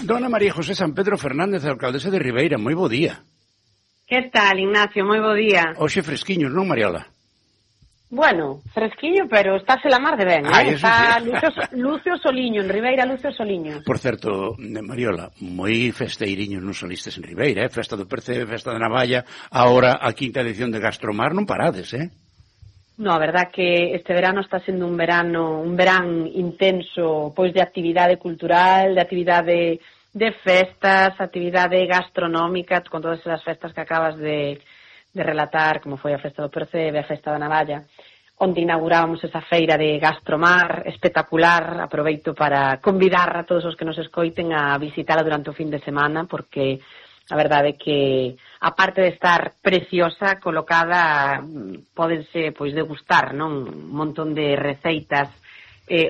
Dona María José San Pedro Fernández, alcaldesa de Ribeira, moi bo día. Que tal, Ignacio? Moi bo día. Hoxe fresquiños, non, Mariola? Bueno, fresquiño, pero estáse la mar de ben, está sí. Lucio Soliño, en Ribeira, Lucio Soliño. Por certo, Mariola, moi festeiriños non solistes en Ribeira, Festa do Percebe, Festa da Navalla, agora a quinta edición de Gastromar, non parades, No, a verdad que este verano está sendo un verán intenso, pois de actividade cultural, de actividade de festas, actividade gastronómica, con todas esas festas que acabas de relatar, como foi a Festa do Percebe, a Festa da Navalla, onde inaugurábamos esa feira de Gastromar espectacular. Aproveito para convidar a todos os que nos escoiten a visitala durante o fin de semana, porque a verdade é que, aparte de estar preciosa, colocada, pódense pois degustar, non? Un montón de receitas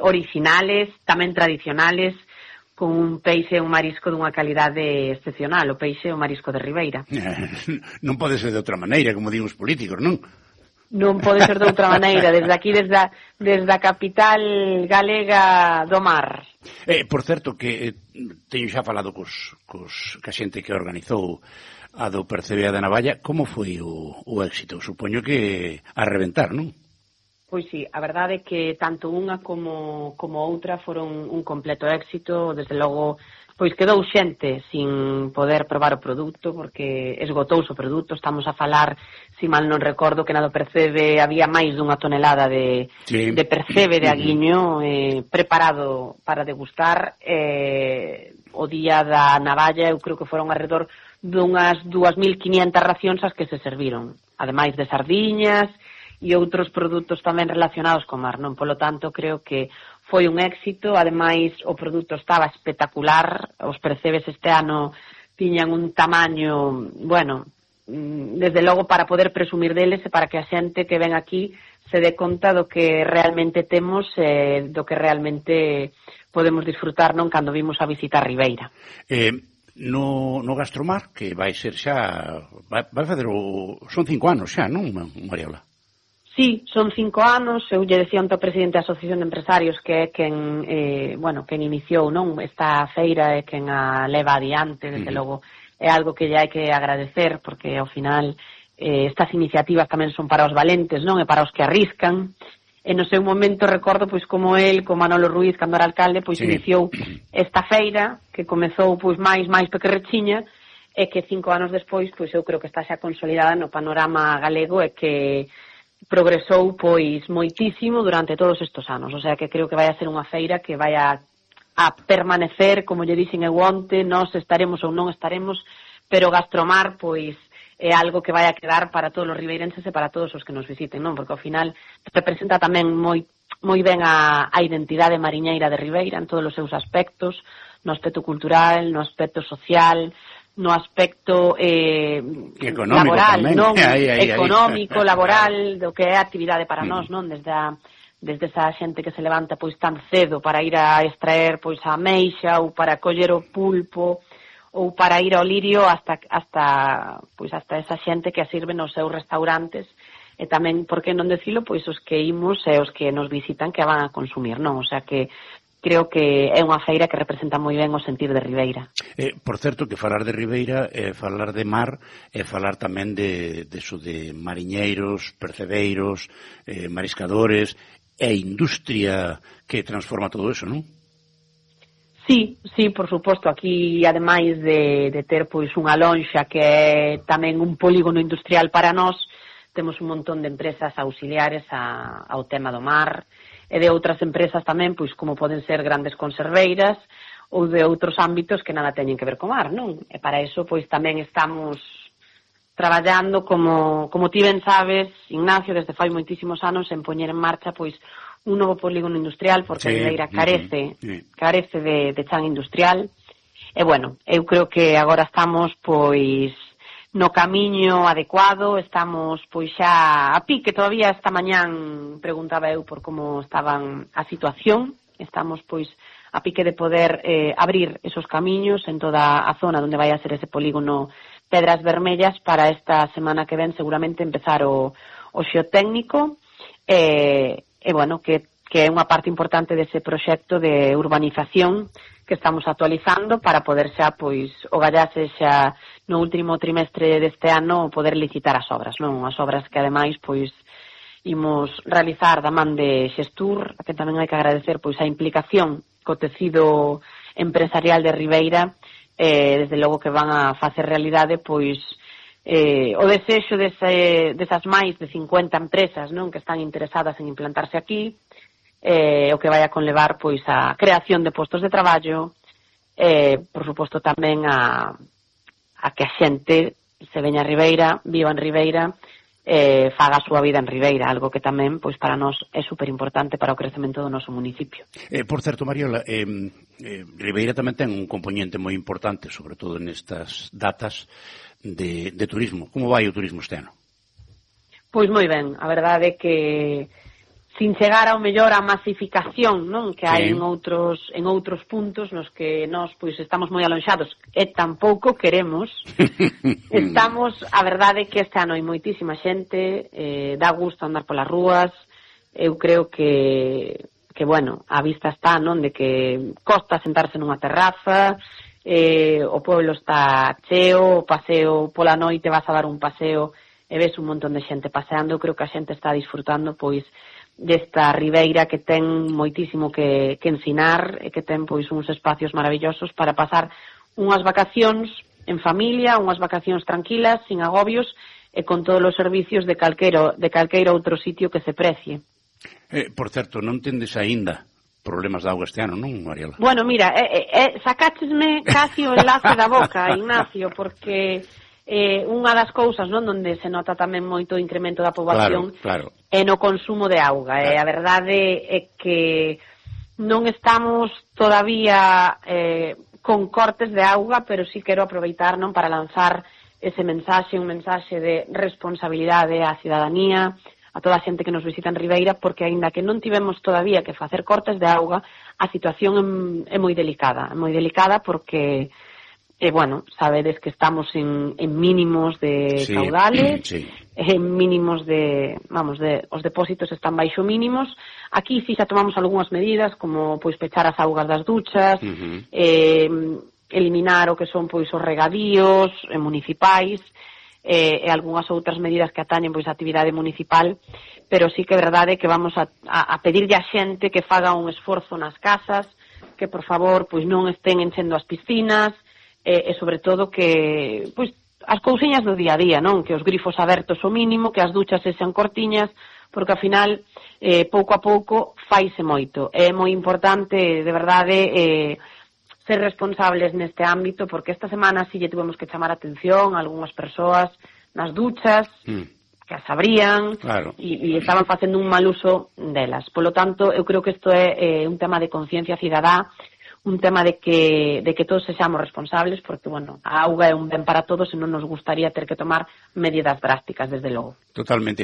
originales, tamén tradicionales, con un peixe e un marisco dunha calidade excepcional, o peixe e o marisco de Ribeira. Non pode ser de outra maneira, como din os políticos, non? Non pode ser de outra maneira, desde aquí, desde a capital galega do mar. Por certo, que teño xa falado ca xente que organizou a do Percebe da Navalla, como foi o éxito? Supoño que a reventar, non? Pois sí, a verdade é que tanto unha como outra foron un completo éxito. Desde logo, pois quedou xente sin poder probar o produto porque esgotouse o produto. Estamos a falar, se mal non recordo, que na do Percebe había máis dunha tonelada de Percebe de aguiño preparado para degustar. O día da Navalla eu creo que foron alrededor dunhas 2.500 racións as que se serviron, ademais de sardiñas e outros produtos tamén relacionados co mar, non? Polo tanto, creo que foi un éxito. Ademais, o produto estaba espectacular. Os percebes este ano tiñan un tamaño, bueno, desde logo para poder presumir deles e para que a xente que ven aquí se dé conta do que realmente temos, do que realmente podemos disfrutar, non? Cando vimos a visitar Ribeira. No Gastromar, que vai ser xa, vai fazer son 5 anos xa, non, Mariola? Sí, son 5 anos. Eu lle decía ao presidente da Asociación de Empresarios que é quen iniciou, non, esta feira, é quen a leva adiante. Desde logo é algo que lle hai que agradecer, porque ao final estas iniciativas tamén son para os valentes, non, e para os que arriscan. E no seu momento recordo pois como el, como Manolo Ruiz, cando era alcalde, pois iniciou esta feira que comezou pois máis pequerrechiña, e que 5 anos despois pois eu creo que está xa consolidada no panorama galego e que progresou pois moitísimo durante todos estes anos. O sea que creo que vai a ser unha feira que vai a permanecer, como lle dixen eu onte, nós estaremos ou non estaremos, pero Gastromar pois é algo que vai a quedar para todos os ribeirenses e para todos os que nos visiten, non? Porque ao final representa tamén moi ben a identidade mariñeira de Ribeira en todos os seus aspectos, no aspecto cultural, no aspecto social, no aspecto laboral, tamén, non? Económico, laboral, do que é a actividade para nós, non? Desde esa xente que se levanta pois tan cedo para ir a extraer pois a ameixa ou para coller o pulpo ou para ir ao lirio hasta esa xente que a sirve nos seus restaurantes. E tamén, por que non decilo, pois os que imos e os que nos visitan que a van a consumir, non? O sea que creo que é unha feira que representa moi ben o sentir de Ribeira. Por certo, que falar de Ribeira é falar de mar, é falar tamén de mariñeiros, percebeiros, mariscadores, e industria que transforma todo eso, non? Sí, por suposto. Aquí, ademais de ter pois unha lonxa que é tamén un polígono industrial para nós, temos un montón de empresas auxiliares ao tema do mar, e de outras empresas tamén, pois como poden ser grandes conserveiras ou de outros ámbitos que nada teñen que ver co mar, non? E para iso, pois tamén estamos traballando, como ti ben sabes, Ignacio, desde fai moitísimos anos, en poñer en marcha, pois, un novo polígono industrial, porque Ribeira carece de chan industrial. E, bueno, eu creo que agora estamos, pois, no camiño adecuado, estamos pois xa a pique. Todavía esta mañán preguntaba eu por como estaban a situación. Estamos pois a pique de poder abrir esos camiños en toda a zona onde vai a ser ese polígono Pedras Vermellas para esta semana que ven seguramente empezar o xeotécnico. E bueno, que que é unha parte importante dese proxecto de urbanización que estamos actualizando para poder xa, pois, o gallase xa no último trimestre deste ano poder licitar as obras, non? As obras que ademais, pois, imos realizar da man de Xestur, a que tamén hai que agradecer, pois, a implicación co tecido empresarial de Ribeira, desde logo que van a facer realidade, pois, o desexo desas máis de 50 empresas, non, que están interesadas en implantarse aquí, o que vai a conlevar, pois, a creación de postos de traballo, por suposto tamén a que a xente se veña a Ribeira, viva en Ribeira, faga a súa vida en Ribeira, algo que tamén, pois, para nós é superimportante para o crecemento do noso municipio. Por certo, Mariola, Ribeira tamén ten un componente moi importante, sobre todo nestas datas de turismo. Como vai o turismo este ano? Pois moi ben, a verdade é que sin chegar ao mellor a masificación, non, que hai en outros puntos nos que nós, pois, estamos moi alonxados e tampouco queremos. Estamos, a verdade é que este ano hai moitísima xente, dá gusto andar polas rúas. Eu creo que bueno, a vista está, non, de que costa sentarse nunha terraza, o pueblo está cheo, o paseo pola noite, vas a dar un paseo e ves un montón de xente paseando. Eu creo que a xente está disfrutando, pois, desta Ribeira que ten moitísimo que ensinar e que ten, pois, uns espacios maravillosos para pasar unhas vacacións en familia, unhas vacacións tranquilas, sin agobios e con todos os servicios de calqueiro outro sitio que se precie. Por certo, non tendes aínda problemas de auga este ano, non, Mariola? Bueno, mira, sacáchesme casi o enlace da boca, Ignacio, porque unha das cousas, non, onde se nota tamén moito o incremento da poboación, claro. É no consumo de auga. Claro. A verdade é que non estamos todavía con cortes de auga, pero sí quero aproveitar, non, para lanzar ese mensaxe, un mensaxe de responsabilidade á cidadanía, a toda a xente que nos visita en Ribeira, porque aínda que non tivemos todavía que facer cortes de auga, a situación é moi delicada. É moi delicada porque bueno, sabedes que estamos en mínimos de caudales, en mínimos os depósitos están baixo mínimos. Aquí sí xa tomamos algunhas medidas, como, pois, pechar as augas das duchas, eliminar o que son, pois, os regadíos municipais, e algunhas outras medidas que atañen, pois, a actividade municipal, pero sí que é verdade que vamos a pedirlle a xente que faga un esforzo nas casas, que, por favor, pois, non estén enchendo as piscinas, e sobre todo que, pois, as cousiñas do día a día, non? Que os grifos abertos o mínimo, que as duchas sexan cortiñas, porque ao final, pouco a pouco, faise moito. É moi importante, de verdade, ser responsables neste ámbito, porque esta semana sí lle tuvemos que chamar a atención a algunhas persoas nas duchas, que as abrían, claro, e estaban facendo un mal uso delas. Polo tanto, eu creo que isto é un tema de conciencia cidadá, un tema de que todos sexamos responsables, porque, bueno, a auga é un ben para todos e non nos gustaría ter que tomar medidas drásticas, desde logo. Totalmente.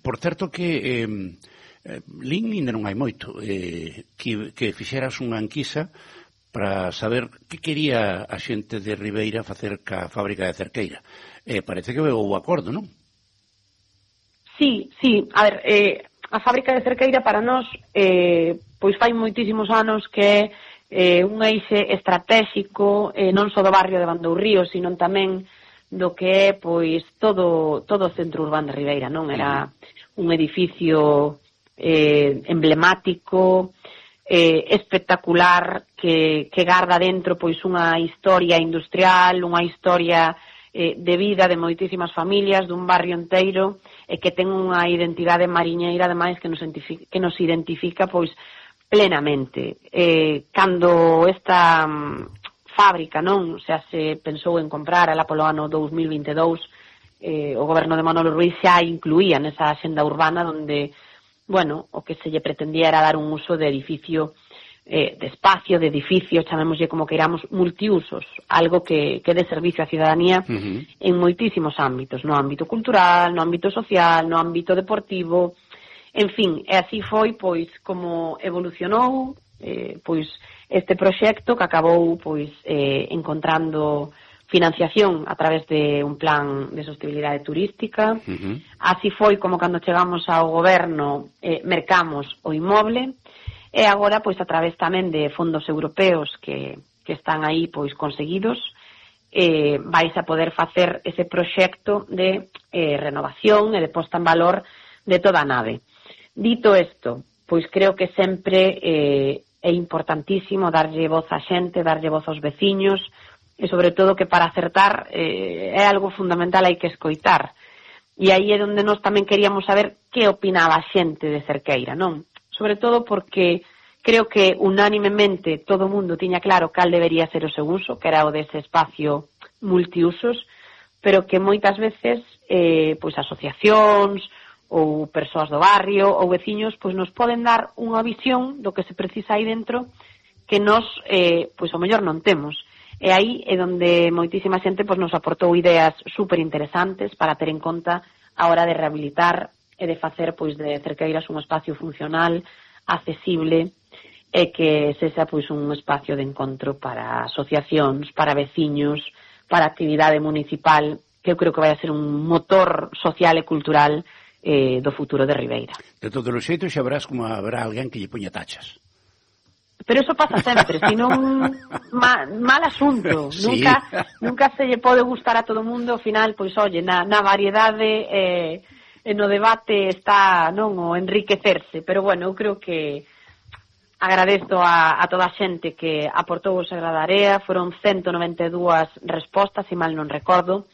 Por certo que lin ainda non hai moito, que fixeras unha enquisa para saber que quería a xente de Ribeira facer ca fábrica de Cerqueira. Parece que houve acordo, non? Sí. A ver, a fábrica de Cerqueira para nós, pois fai moitísimos anos que un eixe estratégico, non só do barrio de Bandourrío, sino tamén do que é, pois, todo o centro urbano de Ribeira, non? Era un edificio emblemático, espectacular, que garda dentro, pois, unha historia industrial, unha historia de vida de moitísimas familias, dun barrio enteiro, e que ten unha identidade mariñeira, ademais, que nos identifica, pois, plenamente. Cando esta fábrica, non, se pensou en comprar ela polo ano 2022, o goberno de Manolo Ruiz xa incluía nesa axenda urbana onde, bueno, o que se lle pretendía era dar un uso de edificio, de espacio, de edificio, chamémoslle como queiramos, multiusos, algo que dé servicio á cidadanía en moitísimos ámbitos, no ámbito cultural, no ámbito social, no ámbito deportivo. En fin, e así foi, pois, como evolucionou, pois, este proxecto que acabou, pois, encontrando financiación a través de un plan de sostenibilidade turística. Así foi como cando chegamos ao goberno mercamos o inmoble, e agora pois a través tamén de fondos europeos que están aí pois conseguidos, vais a poder facer ese proxecto de renovación e de posta en valor de toda a nave. Dito isto, pois creo que sempre é importantísimo darlle voz á xente, darlle voz aos veciños, e sobre todo que para acertar é algo fundamental, hai que escoitar. E aí é onde nós tamén queríamos saber que opinaba a xente de Cerqueira, non? Sobre todo porque creo que unánimemente todo o mundo tiña claro cal debería ser o seu uso, que era o dese espacio multiusos, pero que moitas veces pois asociacións ou persoas do barrio ou veciños pois nos poden dar unha visión do que se precisa aí dentro que nós pois ao mellor non temos. E aí é onde moitísima xente pois nos aportou ideas super interesantes para ter en conta a hora de rehabilitar e de facer pois de Cerqueiras un espacio funcional, accesible e que sexa pois un espacio de encontro para asociacións, para veciños, para actividade municipal, que eu creo que vai a ser un motor social e cultural do futuro de Ribeira. De todos os xeitos xa verás como habrá alguén que lle poña tachas. Pero eso pasa sempre, senón mal asunto. Sí. Nunca se lle pode gustar a todo o mundo, ao final, pois, oye, na variedade no debate está, non, o enriquecerse. Pero, bueno, eu creo que agradezo a toda a xente que aportou o Sagrada Area, foron 192 respostas, se mal non recordo,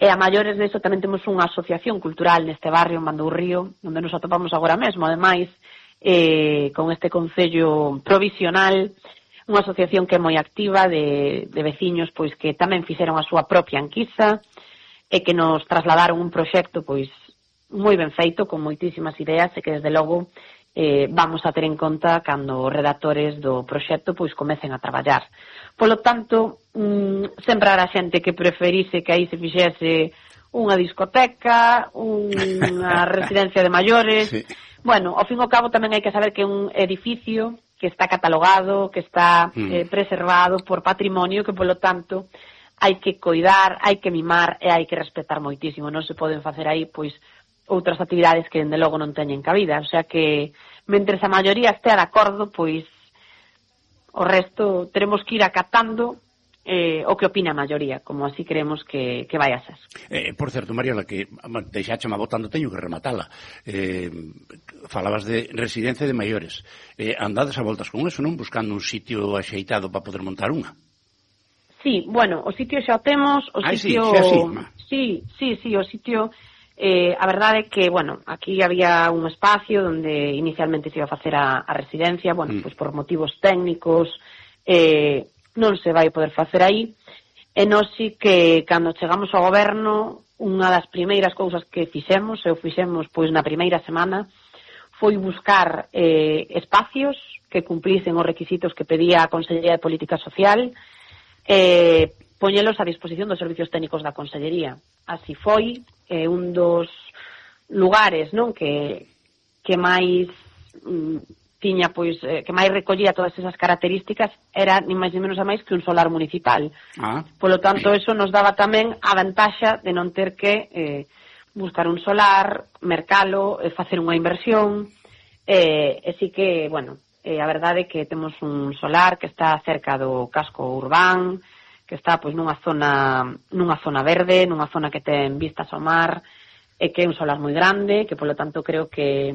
e a maiores deso tamén temos unha asociación cultural neste barrio, en Mandourrío, onde nos atopamos agora mesmo, ademais, con este concello provisional, unha asociación que é moi activa de veciños pois que tamén fixeron a súa propia enquisa e que nos trasladaron un proxecto pois moi ben feito, con moitísimas ideas e que desde logo vamos a ter en conta cando os redactores do proxecto pois comecen a traballar. Polo tanto, sempre habrá xente que preferise que aí se fixese unha discoteca, unha residencia de maiores. Sí. Bueno, ao fin e ao cabo tamén hai que saber que é un edificio que está catalogado, que está preservado por patrimonio, que polo tanto hai que coidar, hai que mimar e hai que respetar moitísimo. Non se poden facer aí pois outras actividades que dende logo non teñen cabida, o sea que mentres a maioría estea de acordo, pois o resto teremos que ir acatando o que opina a maioría, como así creemos que vai a ser. Por certo, Mariola, que deixáchame botando, teño que rematala. Falabas de residencia de maiores. Andades a voltas con eso, non? Buscando un sitio axeitado para poder montar unha. Sí, bueno, o sitio xa o temos, o sitio... Sí, o sitio... a verdade é que, bueno, aquí había un espacio onde inicialmente se iba a facer a residencia, bueno, pois por motivos técnicos non se vai poder facer aí, e nós sí que cando chegamos ao goberno unha das primeiras cousas que fixemos pois na primeira semana foi buscar espacios que cumplisen os requisitos que pedía a Consellería de Política Social, poñelos a disposición dos servicios técnicos da Consellería. Así foi, un dos lugares, non, que máis tiña, pois, que máis recollía todas esas características era ni máis ni menos a máis que un solar municipal. Polo tanto, eso nos daba tamén a vantaxa de non ter que buscar un solar, mercalo, facer unha inversión, e sí que, bueno, a verdade é que temos un solar que está cerca do casco urbán, que está pois nunha zona verde, nunha zona que ten vistas ao mar, e que é un solar moi grande, que polo tanto creo que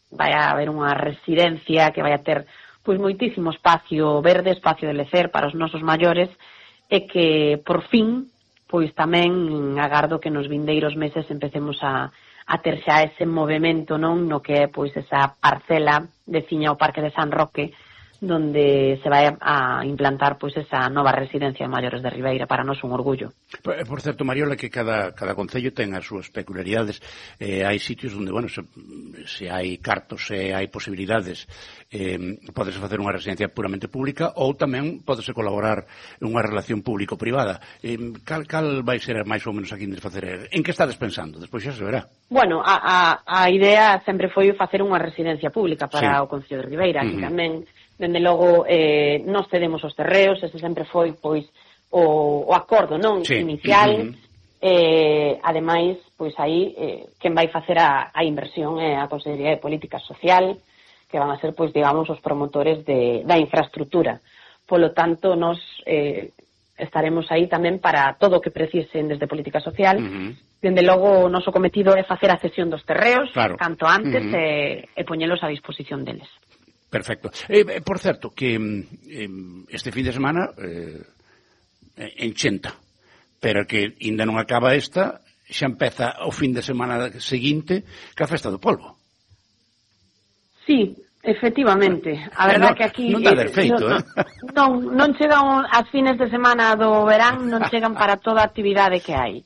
vai a haber unha residencia que vai a ter pois moitísimo espacio verde, espacio de lecer para os nosos maiores, e que por fin pois tamén agardo que nos vindeiros meses empecemos a ter xa ese movimento, non, no que é pois esa parcela veciña ao Parque de San Roque, donde se vai a implantar pois esa nova residencia de maiores de Ribeira, para nós un orgullo. Por certo, Mariola, que cada concello ten as súas peculiaridades. Hai sitios onde, bueno, se hai cartos, se hai posibilidades, podese facer unha residencia puramente pública, ou tamén podese colaborar unha relación público-privada. Cal vai ser máis ou menos aquí de facer? En que estades pensando? Despois xa se verá. Bueno, a idea sempre foi facer unha residencia pública para o Concello de Ribeira, que tamén dende logo nos cedemos os terreos, ese sempre foi pois o acordo, non? Sí. Inicial. Ademais, pois aí quen vai facer a inversión é a Consellería de Política Social, que van a ser, pois, digamos, os promotores da infraestructura. Polo tanto, nos estaremos aí tamén para todo o que precisen desde Política Social. Dende logo, o noso cometido é facer a cesión dos terreos, canto antes, e poñelos a disposición deles. Perfecto. Por certo, que este fin de semana en Chenta, pero que ainda non acaba esta, xa empeza o fin de semana seguinte que a Festa do Polvo. Sí, efectivamente. A verdad que aquí non dá defeito, non chegan as fines de semana do verán, non chegan para toda a actividade que hai.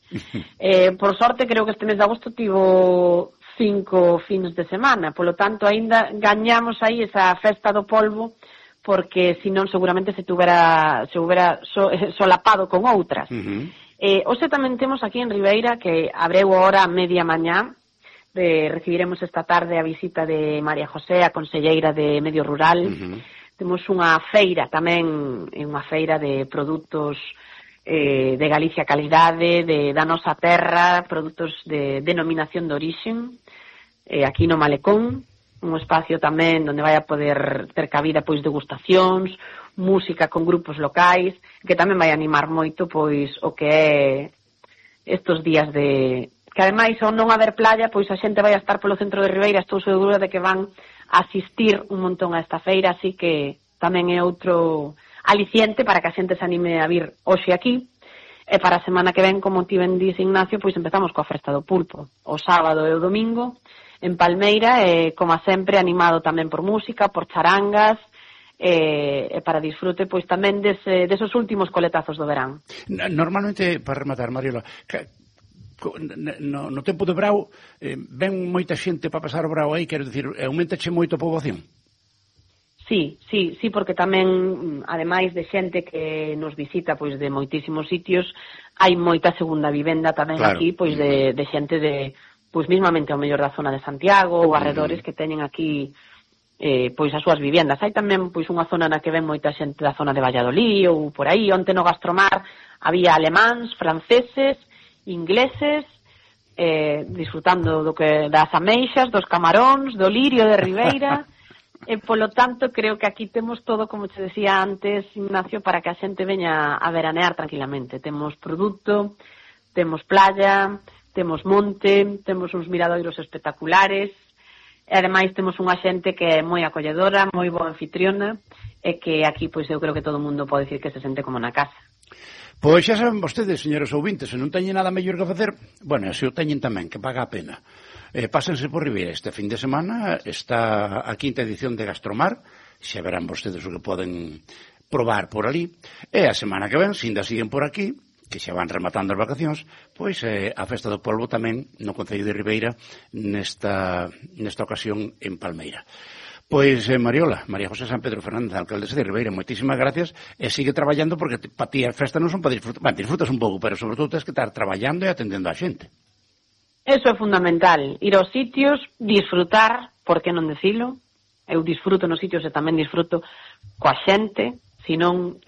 Por sorte, creo que este mes de agosto tivo 5 fins de semana, polo tanto, aínda gañamos aí esa Festa do Polvo, porque senón seguramente se hubera solapado con outras. Hoxe tamén temos aquí en Ribeira, que abreu hora a media mañá, recibiremos esta tarde a visita de María José, a conselleira de Medio Rural. Temos unha feira tamén, unha feira de produtos de Galicia calidade, da nosa terra, produtos de denominación de orixen, aquí no Malecón, un espacio tamén onde vai a poder ter cabida pois degustacións, música con grupos locais, que tamén vai animar moito pois o que é estos días de... que ademais ao non haber playa, pois a xente vai a estar polo centro de Ribeira, estou segura de que van a asistir un montón a esta feira, así que tamén é outro aliciente para que a xente se anime a vir hoxe aquí. E para a semana que ven, como ti ben dís, Ignacio, pois empezamos coa Festa do Pulpo, o sábado e o domingo, en Palmeira, como sempre, animado tamén por música, por charangas, e para disfrute, pois tamén desos últimos coletazos do verán. Normalmente, para rematar, Mariola, no tempo de brao, ven moita xente para pasar o brao aí, quero dicir, aumentache moito a poboación? Sí, porque tamén, ademais de xente que nos visita pois de moitísimos sitios, hai moita segunda vivenda tamén aquí, pois de xente de, pois mismamente ao mellor da zona de Santiago ou arredores que teñen aquí pois as súas vivendas. Hai tamén pois unha zona na que ven moita xente da zona de Valladolid ou por aí. Onte no Gastromar había alemáns, franceses, ingleses, disfrutando das ameixas, dos camaróns, do lirio de Ribeira. E, polo tanto, creo que aquí temos todo, como te decía antes, Ignacio, para que a xente veña a veranear tranquilamente. Temos produto, temos playa, temos monte, temos uns miradoiros espectaculares, e ademais temos unha xente que é moi acolledora, moi boa anfitriona, e que aquí, pois, eu creo que todo o mundo pode dicir que se sente como na casa. Pois xa saben vostedes, señores ouvintes, se non teñen nada mellor que facer, bueno, se o teñen tamén, que paga a pena. Pásense por Ribeira este fin de semana, está a quinta edición de Gastromar, xa verán vostedes o que poden probar por ali, e a semana que ven, se ainda siguen por aquí, que xa van rematando as vacacións, pois a Festa do Polvo tamén no Concello de Ribeira nesta ocasión en Palmeira. Pois, Mariola, María José San Pedro Fernández, alcaldesa de Ribeira, moitísimas gracias, e sigue traballando porque para ti a festa non son para disfrutar, disfrutas un pouco, pero sobre todo tens que estar traballando e atendendo a xente. Eso é fundamental, ir aos sitios, disfrutar, por que non decilo? Eu disfruto nos sitios e tamén disfruto coa xente, senón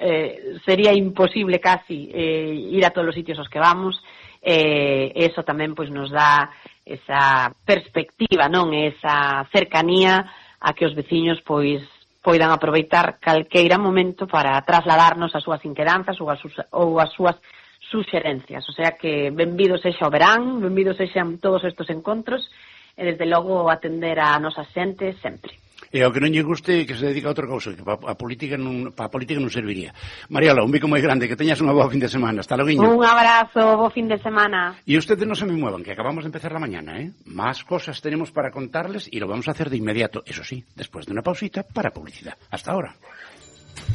sería imposible casi ir a todos os sitios aos que vamos, eso tamén pois nos dá esa perspectiva, non? Esa cercanía a que os veciños pois poidan aproveitar calqueira momento para trasladarnos as súas inquedanzas ou as súas suxerencias. O sea que benvidos sexa o verán, benvidos sexan todos estes encontros e desde logo atender a nosa xente sempre. E ao que non lle guste que se dedica a outra cousa, que para a política non serviría. Mariola, un bico moi grande, que teñas unha boa fin de semana. Hasta logo. Un abrazo, bo fin de semana. Y ustedes no se me muevan, que acabamos de empezar la mañana, ¿eh? Más cosas tenemos para contarles y lo vamos a hacer de inmediato, eso sí, después de una pausita para publicidad. Hasta ahora.